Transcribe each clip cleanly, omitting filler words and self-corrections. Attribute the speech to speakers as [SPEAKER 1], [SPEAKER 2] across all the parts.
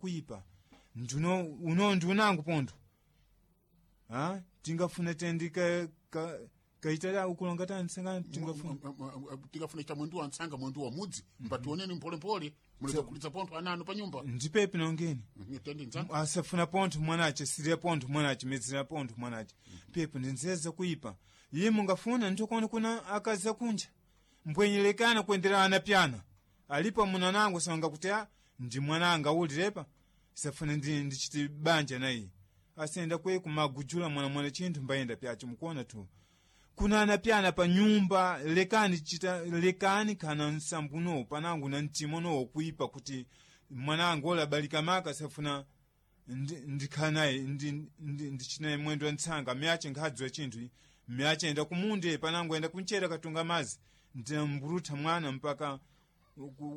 [SPEAKER 1] Kuipa njuno uno ndiunangu pontho a tingafuna tendika ka kaitala ukulonga tansanga tingafuna.
[SPEAKER 2] Tikafuna chita mwendu wa ntsanga, mwendu wa mudzi, mbationeni mpholemphole muleza kulitsa pontho ananu pa nyumba.
[SPEAKER 1] Ndipepi nongeni.
[SPEAKER 2] Tendi ntsanga.
[SPEAKER 1] Asafuna pontho mwanache, siriya pontho mwanache, medzera pontho mwanache, pepo ndinzeza kuipa iye mungafuna ntokona kuna akazi akunja mbwenyelekana kuendera ana pyana alipo munanango sanga kuti a ndi mwananga ulirepa safuna ndi ndichiti banja naye asenda kwe kumagujula mwana mwana chinthu mbayenda pyacho mukuona tu kuna ana pyana pa nyumba. Lekani chita lekani kana nsambu panangu na mtima no kuipa kuti mwanangu ola balika maka safuna ndikhala naye ndichinaye mwendo wa ntsanga miyache nkhadziwa chinthu miyache enda kumunde panangu enda kunchera katunga mazi ndinamburutha mwana mpaka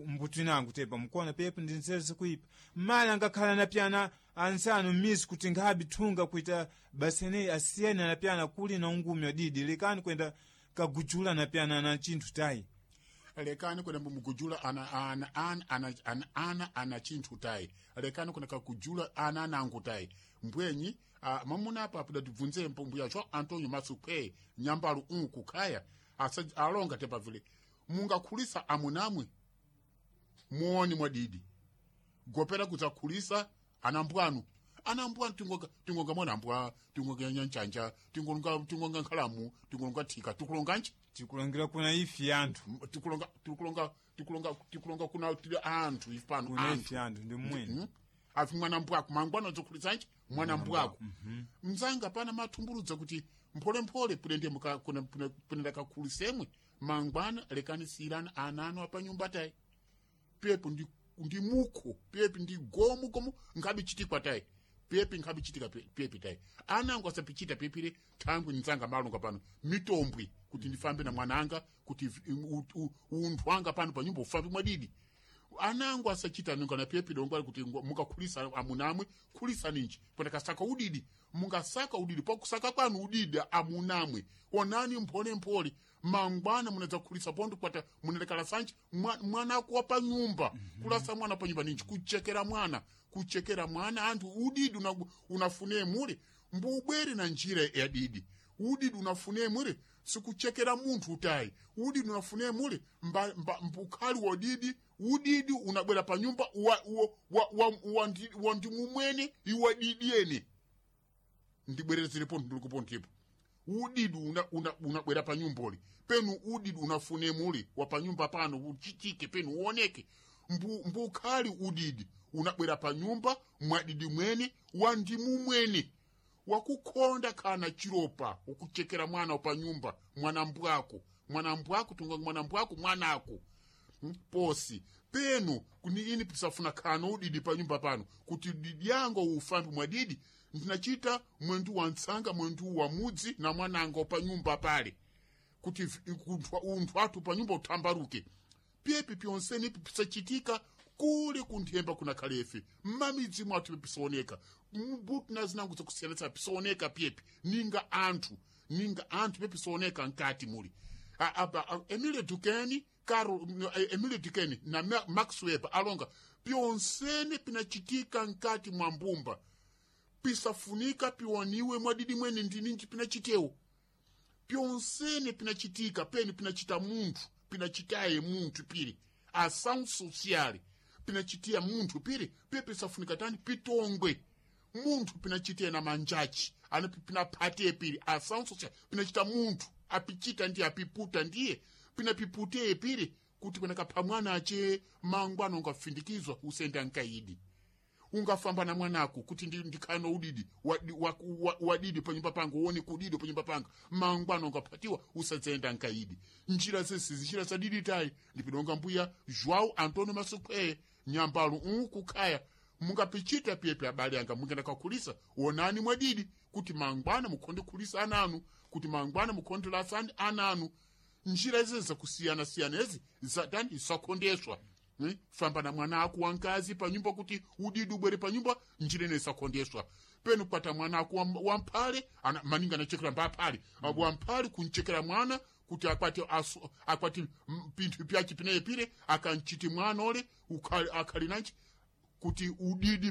[SPEAKER 1] mbutu inangu tepa mukuona pepo ndinzere kuipa mali angakhala na pyana ansanu m'mizi kuti nkhabi thunga kuita baseneyi asiyene na pyana kuli na ungumi wadidi. Lekani kwenda kagujula na pyana na chinthu tayi.
[SPEAKER 2] Lekani kwenda mugujula ana ana ana ana ana ana ana chinthu tayi. Lekani kwenda kakujula ana anangu tayi mbwenyi. Mamuna apa apudatibvunze mbuya cho Antonio Masukwe nyambalu unku khaya asa alonga tepa vile mungakhulisa amunamwe muoni mwadidi gopera kudzakhulisa anambwanu anambwanu tingonga tingonga mwanambwa, tingonga nyanjanja, tingonga tingonga nkhalamu, tingonga thika, tikulonganji?
[SPEAKER 1] Tikulongira kuna ifi anthu.
[SPEAKER 2] Tikulonga tikulonga tikulonga tikulonga kuna tili anthu ife pano.
[SPEAKER 1] Kuna
[SPEAKER 2] anthu
[SPEAKER 1] ifi anthu ndi mmwene.
[SPEAKER 2] Afi mwana mbwako mangwana dzokhulitsanji mwana mbwako mzanga pana mathumbuludza kuti mpholemphole pulende punenda kakhulisemwe mangwana. Lekani siyirani ana anu apanyumba tayi pepo ndi mukho pepi ndi gomu gomu nkhabe chitikwa tayi pepi nkhabe chitika pepi tayi anango asapichita pepire thangwi nzanga malonga pano mitombwi kuti ndifambe na mwananga kuti unthu wanga pano panyumba ufambe mwadidi anango asachita nunga na pepi dongo kuti mukakhulisa amunamwe khulisa ninji pona udidi mungasaka udidi pakusaka kwanu udidi amunamwe onani mpholemphole mangwana munadza kukhulisa pondo kwata munalekala sanji mwanako wa panyumba. Kulasa mwana panyumba ninji kuchekera mwana, kuchekera mwana anthu udidi unafune mule mbubwere na njira ya didi. Udidi unafune mule sikuchekera munthu utayi. Udidi unafune mule mbukhali wa didi. Udidi unabwera pa nyumba wa ndimumwene iwa didi ene ndibwerezerepo ndilikupo udidi unabwera pa nyumboli penu udidi unafune muli wa pa nyumba pano uchitike penu uoneke mbukhali udidi unabwera pa nyumba mwadidi mwene wa ndimu mwene wakukhonda kana chiropa ukuchekera mwana pa nyumba mwana mbwako mwana mbwako tunga mwana mbwako mwanako. Posi penu kuni ini pisafuna khano udidi pa nyumba pano kuti didi yango ufambi mwadidi ndinachita mwendu wa ntsanga mwendu wa mudzi na mwananga pa nyumba pale kuti unthu athu pa nyumba uthambaruke pyepi pyonseni pisachitika kuli kunthemba kuna khalefe mmamidzi mwathu pisaoneka mbuti na zinango zakusiyanitsa pisaoneka pyepi ninga anthu ninga anthu pepisaoneka nkati muli Emile Dukeni Carol Emile Dukeni na Max Weber alonga pyonsene pinachitika nkati mwa mbumba pisafunika piwaniwe mwadidi mwene ndininji pinachitewo pyonsene pinachitika pene pinachita munthu pinachitaye munthu pili ação social pinachitia munthu pili piye pisafunika tani pitongwe munthu pinachitiye na manjachi ana pinaphatiye pili ação social pinachita munthu apichita ndiye apiputa ndiye pinapiputeye pili kuti panakapha mwana ache mangwana ungafindikizwa usenda nkaidi ungafamba na mwanako kuti ndikhano udidi wadidi panyumba panga uone kudidi panyumba panga mangwana ungaphatiwa usadzenda nkaidi njira zesi njira zadidi tayi ndipidonga mbuya João Antônio Masukweye nyambalo unkukhaya mungapichita pyepi abale anga mungenda kakhulisa onani mwadidi kuti mangwana mukhonde khulisa ananu kuti mangwana mukhonde lasani ananu njira izi zakusiyana-siyana ezi zatani zakhondeswa. Famba na mwana ako wankazi panyumba kuti udidi ubwere panyumba njira ine isakhondeswa penu kwata mwana ako wamphale maninga anachekera mbaphale wamphale kunchekera mwana kuti akwati akwati pinthu pyachi pineye pile akanchiti mwana ole akhali nanchi kuti udidi.